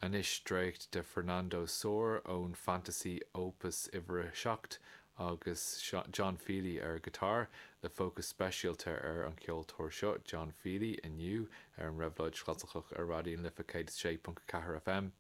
Anois dréacht de Fernando Sor ón Fantasy Opus uimhir a 7 agus John Feely ar guitar, le fócas speisialta ar an cheoltóir seo, John Feely, inniu ar an Réabhlóid Chlasaiceach ar Raidió na Life 106.4 FM.